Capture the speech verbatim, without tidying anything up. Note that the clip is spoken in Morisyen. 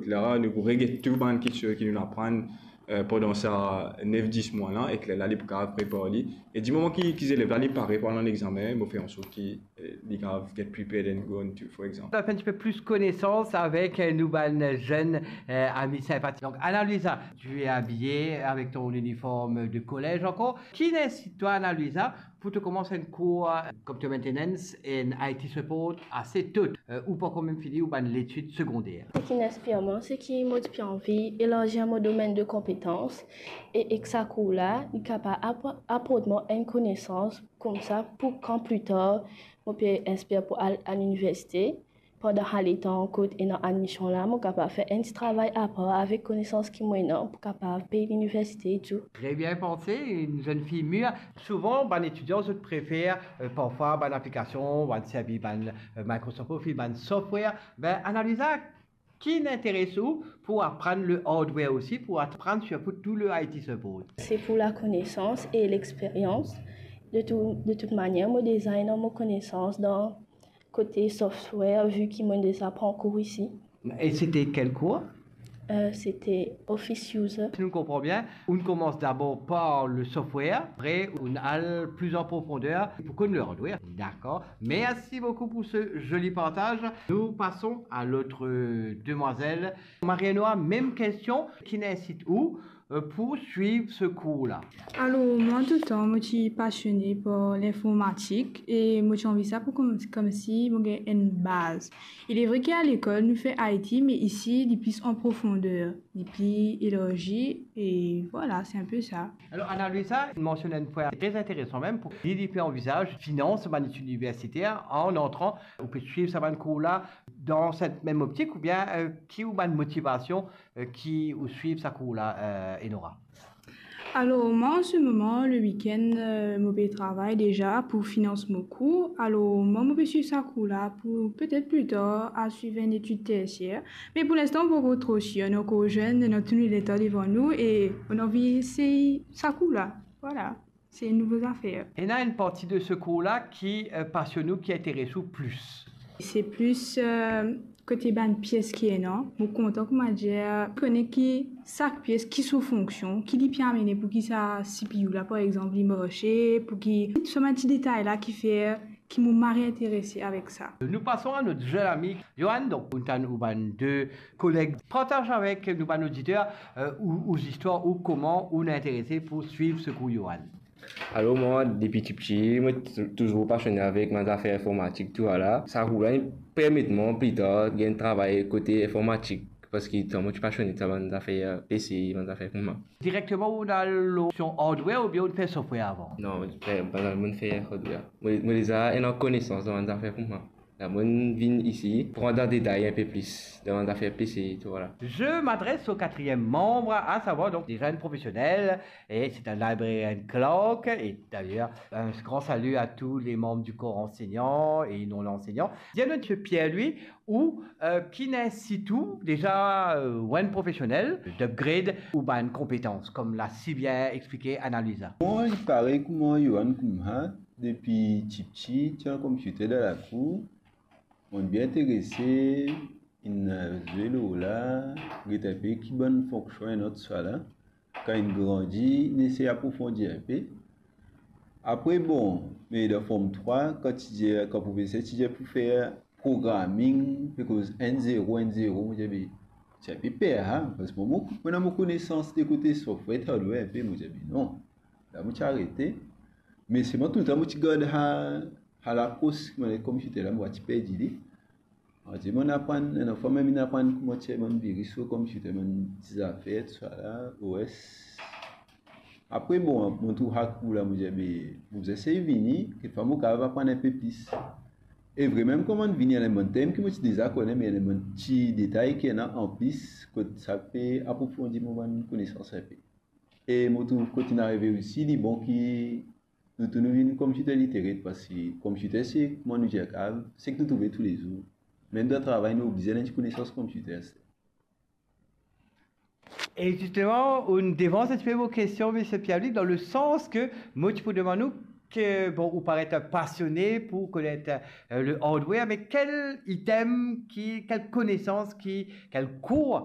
Lerla nou pou reget tou bann kiksoz ki nou aprann, eh, pandan sa nef dis mwa la, ek lerla li pou kapav prepar li. E dimoman ki, ki zelev la, li pare pou al an examen, mo fer ansort ki, eh, li kapav get prepared and go into, for example. Ou finn fer enn tipe plis konesans avek, eh, nou bann zenn, eh, ami sinpatik. Donc, Ana Luisa, tu es habillée avec ton uniforme de collège encore. Ki inn insit twa, Ana Luisa, pou to koumans enn kour, eh, computer maintenance and I T support ase to, eh, ou pankor mem fini ou bann letid segonder? Seki inn inspir mwa, seki mo ti pe anvi elarzi mo domenn de konpetans, e ek sa kour la, li kapav apor-, aport mwa enn konesans koumsa pou kan pli tar mo pe inspir pou al, al liniversite. Pandan sa letan kot ena admision la, mo kapav fer enn ti travay apar avek konesans ki mo ena pou kapav pey liniversite e tou. Très bien pensé, une jeune fille mûre. Souvan, bann etidian, zot prefer, eh, parfwa bann aplikasion, bann servi bann, eh, Microsoft Office, bann software. Be, Ana Luisa, ki inn interes ou pou aprann le hardware osi, pou aprann sirtou tou le I T support? Se pou lakonesans e lexperyans. De tou, de tout manier, mo deza ena mo konesans dan kote software, vi ki mo deza pran kour isi. E sete kel kour? Eh, sete Office User. Si nou konpran bien, ou koumans dabor par le software, apre ou al pli an profonder pou konn le hardware. Dakor. Merci beaucoup pour ce joli partage. Nous passons à l'autre demoiselle. Marie-Noa, mem kestion, ki inn insit ou, eh, pou swiv se kour la? Alor, mwa, touletan, mo ti pasione par linformatik e mo ti anvi sa pou koum-, koumsi mo gagn enn baz. Il est vrai ki a lekol, nou fer I T, me isi, li plis an profonder, li pli elarzi, e vwala, se enn pe sa. Alor, Ana Luisa, ou mansionn enn pwin tre interesan mem, pou li, li pe anvizaz finans bann etid iniversiter an antran, ou pe swiv sa bann kour la dan set mem optik, oubien, eh, ki ou bann motivasion eh, ki ou swiv sa kour la, eh, Enora? Alor, mwa, an se moman, le wikenn, eh, mo pe travay deza pou finans mo kour. Alor, mwa, mo pe swiv sa kour la pou petet pli tar al swiv enn etid tersier. Me pou linstan, mo pankor tro sir, nou ankor zenn, nou ena tou nou letan devan nou e nou anvi esey sa kour la. Vwala. Se enn nouvo zafer. Ena enn parti de se kour la ki, eh, pasionn ou, ki interes ou plis? Se plis, eh, kote bann pies ki ena. Mo kontan, koumadir, kone ki sak pies ki so fonksion, ki li pe amene pou ki sa C P U la, par exanp, li marse, pou ki, tou sa bann ti detay la ki fer ki mo mari interese avek sa. Nous passons à notre jeune ami Johan. Donc, ou tann ou bann de koleg, partaz avek nou bann oditer, eh, ou, ou zistwar, ou kouma ou inn interese pou swiv se kour, Johan. Alor, mwa, depi tipti, mo ti touzour pasione avek bann zafer informatik, tousala. Sa kour la, li permet mwa pli tar gagn travay kote informatik, parski tan mo ti pasione sa bann zafer P C, bann zafer kouma. Direkteman ou al lor opsion hardware oubien ou fer software avan? Non, mo fer, mo fer hardware. Mo, mo deza ena konesans dan bann zafer kouma. La, mo vinn isi, pran dan detay enn pe plis dan bann zafer P C, tousala. Je m'adresse au quatrième membre, à savoir donc déjà une professionnelle, et c'est un librarian clerk, et d'ailleurs, un grand salut à tous les membres du corps enseignant et non l'enseignant. Dir nou, Monsieur Pierre-Louis, ou, eh, ki inn insit ou deza, eh, ou enn profesionel, d'upgrade ou bann konpetans, kouma la si bien explike Ana Luisa? Mwa, parey kouma Johan kouma, depi tipti, ti ena konpiter dan lakour, mo bien interese, inn zwe lor la, get enn pe ki bann fonksion ena tousala. Kan inn grandi, inn esey aprofondi enn pe. Apre, bon, me dan Form trwa, kan ti dir, kan profeser ti dir pou fer programming, pe koz enn zero, enn zero, mo dir, be, ti enn pe per, ha, parski mo, mo, mo ena mo konesans de kote software, hardware enn pe, mo dir, be, non. La, mo ti arete. Me selman touletan, mo ti gard sa, sa lakros, mo, konpiter la, mo pa ti perdi li. An dir, mo aprann, enn fwa mem inn aprann kouma tir bann viris lor konpiter, bann ti zafer, tousala, O S. Apre, bon, mo trouv sa kour la, mo dir, be, mo bizin esey vini, kikfwa mo kapav aprann enn pe plis. E vremem, kan mo vini, ena bann term ki mo ti deza kone, me ena bann ti detay ki ena anplis, kot sa pe aprofondi mo bann konesans enn pe. E mo trouv kot inn arive osi, li bon ki nou tou nou vinn computer literate, parski computer se, kouma nou dir, seki nou trouve toulezour. Mem dan travay, nou oblize ena enn ti konesans computer. E zisteman, ou devans enn tipe mo kestion, Misie Pierre-Louis, dan le sans ke mo ti pou demann ou, ke, bon, ou paret pasione pou konet, eh, le hardware, me kel item ki, kel konesans ki, kel kour